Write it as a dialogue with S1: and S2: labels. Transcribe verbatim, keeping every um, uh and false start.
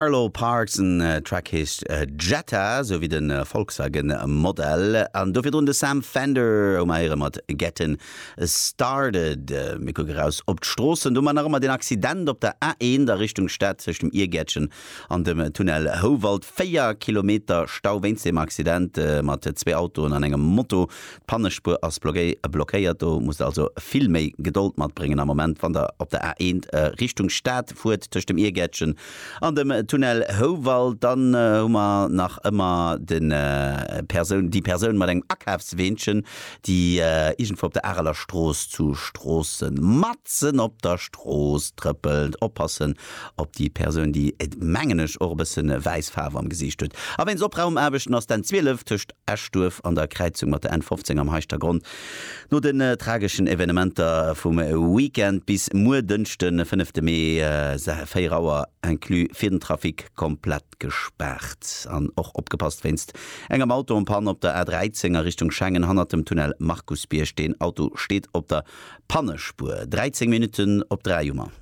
S1: Arlo Parks en Track heescht Jetta, sou wéi de Volkswagen Modell. An do virdrun de Sam Fender hu mer héiere mat Gettin' Started. Mir kucke raus op d'Stroossen. Do hu mer nach ëmmer deen Accident op der A eent a Richtung Stad tëscht dem Iergäertchen an dem Tunnel Houwald. Véier Kilometer Stau wéinst deem Accident mat zwee Autoen an engem Moto. D'Pannespuer ass blockéiert. Do musst der also vill méi Gedold matbréngen am Moment, wann der op der A eent Richtung Stad fuert tëscht dem Iergäertchen an dem Tunnel Houwald. Dann hu mer nach ëmmer de Persoun, déi Persoun mat engem Akafsweenchen, déi iergendwou op der Areler Strooss zu Stroossen matzen op der Strooss trëppelt. Oppassen op déi Persoun, déi, mengen ech, och e bësse wäiss Faarf am Gesiicht huet. A wéinst Opraumaarbechten ass d'N zwielef tëscht Eschduerf an der Kräizung mat der N fofzéng am Heischtergronn no den trageschen Evenementer vum Weekend bis muer Dënschden, fënnefte Mee, véier Auer inclus fir den Trafic komplett gespaart. An och opgepasst wéinst engem Auto en panne op der A dräizéng a Richtung Schengen hannert dem Tunnel Markusbierg. Deen Auto steet op der Pannespuer. dräizéng Minutten op dräi hu mer.